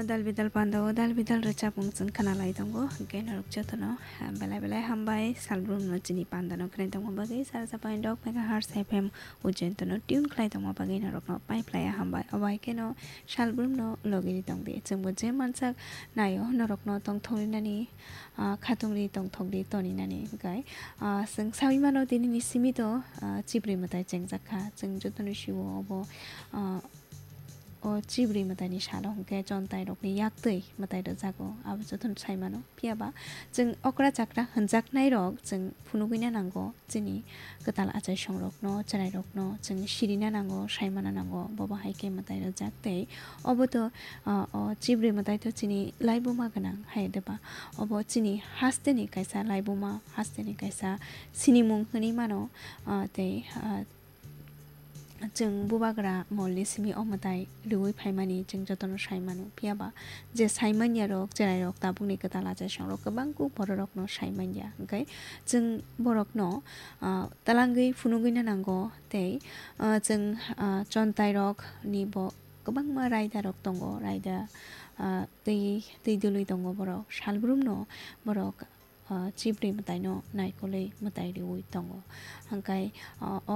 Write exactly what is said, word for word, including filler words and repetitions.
Dal bidal panda o dal bidal rwchapmung chwng khna lai tongo, hwnkhe norok jotono, ah, belai belai hambai, salbrumno chini panda no khwnai tongma bagwi, sara sapai dok megahertz F M Ujjain tono tune khlai tongma bagwi norokno pai phlai ya hambai. Obo hai kheno salbrumno logi ri tong di, chwngbo je mansak naio norokno tongthok rinani, ah, khatung ri tongthok di toni nani hwnkhe, ah, chwng saui mano tini ni simi to, ah, chibrwi mwtai chengjak kha, chwng jotono sio obo, ah, O chibrwi mwtaini salo hwnkhe chontairokni yaktwi mwtai rwjago, abo jotono sai mano. Phiya ba chwng okra chakra hwnjaknairok chwng phunugwina nango, chini kwtal achaisongrokno, chwrairokno chwng sirina nango, saimana nango, bobo hai khe mwtai rwjak tei obo to, ah, o chibrwi mwtai to chini laibuma gwnang hai de ba? Obo chini hasteni kaisa laibuma, hasteni kaisa sinimung hwnwi mano, ah, tei, ah, Chwng bubagra molni simi o mwtai rwui phaimani chwng jotono sai mano. Phiya ba je sai manya rok, chwrai rok, tabukni kwtal achaisong rok kwbang kuk borok rokno sai manya. Hwnkhe chwng borokno, ah, twlangwi phunugwino nango tei, ah, chwng, ah, chontai rok ni bo kwbangma raida rok tongo, raida, ah, twi, twi dului tongo borok. Salbrumno borok, ah, chibrwi mwtaino naikolwi mwtai riui tongo. Hwnkhe, ah, o